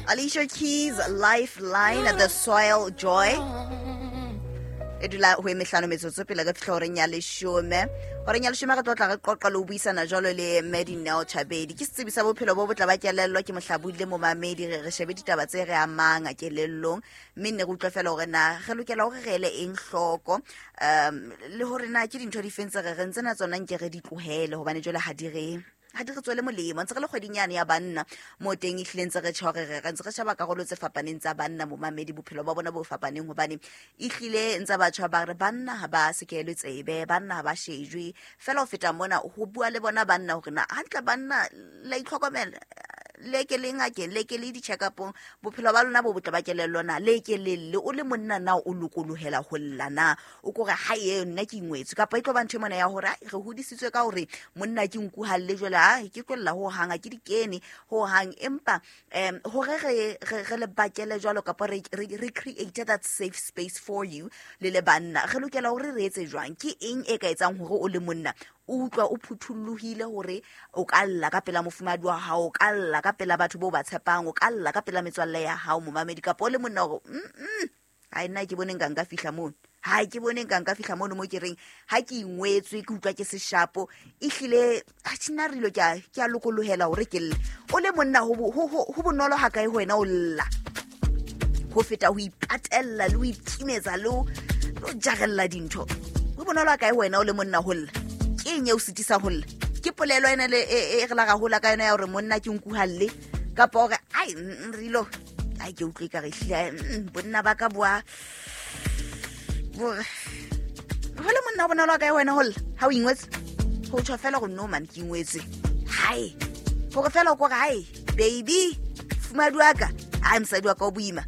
Alicia Keys, Lifeline, The Soil Joy. E dula ho e mehlano metsotso pele re fihla horeng ya leshome. Horeng ya leshome re tlo tla re qoqa le ho buisana jwalo le Medinel Chabedi. Ke setsebi sa bophelo bo botle ba kelello, ke mohlabodi le momamedi. Re re shebe ditaba tse re amang kelellong, mme nne re utlwe fela hore na re lokela hore re ele eng hloko, le hore na ke dintho di feng tse re reng tsena tsona nke re di tlohele, hobane jwale ha di re ha di re tswele molemo. Ntse re le kgweding yane ya banna mo teng, e hlile ntse re tjho re re ntse re sheba karolo tse fapaneng tsa banna, momamedi, bophelo ba bona bo fapaneng, hobane e hlile ntse batjha ba re banna ha ba sekelwe tsebe, banna ha ba shejwe. Fela ho feta mona ho bua le bona banna hore na hantle banna la itlhokomela, le ke le ngakeng, le ke le di-check-upong, bophelo ba lona bo botle ba kelello na, le ke le lle. O le monna na o lokolohela ho lla na? O kore ha e nna ke ingwetswe, kapa e tlo ba ntho e mona ya hore, ai, re hodisitswe ka hore monna ke nku ha lle, jwale ha ke tlo lla ho hang, ha ke di kene ho hang. Empa hore re le bakele jwalo, kapa re create that safe space for you le le banna, re lokela hore re etse jwang? Ke eng e ka etsang hore o le monna o utlwa o phuthollohile hore o ka lla ka pela mofumahadi wa hao, o ka lla ka pela batho bo ba tshepang, o ka lla ka pela metswalle ya hao, momamedi, kapa o le monna hore ha nna ke bone nka nka fihla mono, ha ke bone nka nka fihla mono mo ke reng ha ke ingwetswe, ke utlwa ke seshapo, ehlile ha tjena re ilo ke a lokolohela hore ke lle. O le monna ho bonolo ha kae ho wena o lla ho feta ho ipatella le ho ikimetsa le ho jarella dintho? Ho bonolo ha kae ho wena o le monna ho lla? Ke eng e o sitisang ho lla? Ke polelo ena le e re la ra hola ka yona ya hore monna ke nku ha lle, kapa hore ai, re ilo, ai, ke utlwe ka re hlile, bonna ba ka boa bo ho le monna ho bonolo ha kae wena ho lla ha o ingwetse? Ho tjho fela hore no man, ke ingwetswe. Hai, hore fela o kore hai baby, fumadi wa ka, hai mosadi wa ka o boima,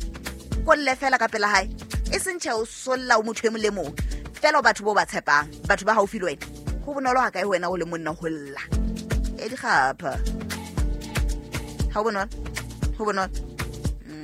ko lle fela ka pela hae, e seng tjhe o solla o motho e mong le mong fela, o batho bo ba tshepang, batho ba haufi le wena. Ho bonolo ha kae ho wena o le monna ho lla? E dikgapha, ha ho bonolo, ho bonolo.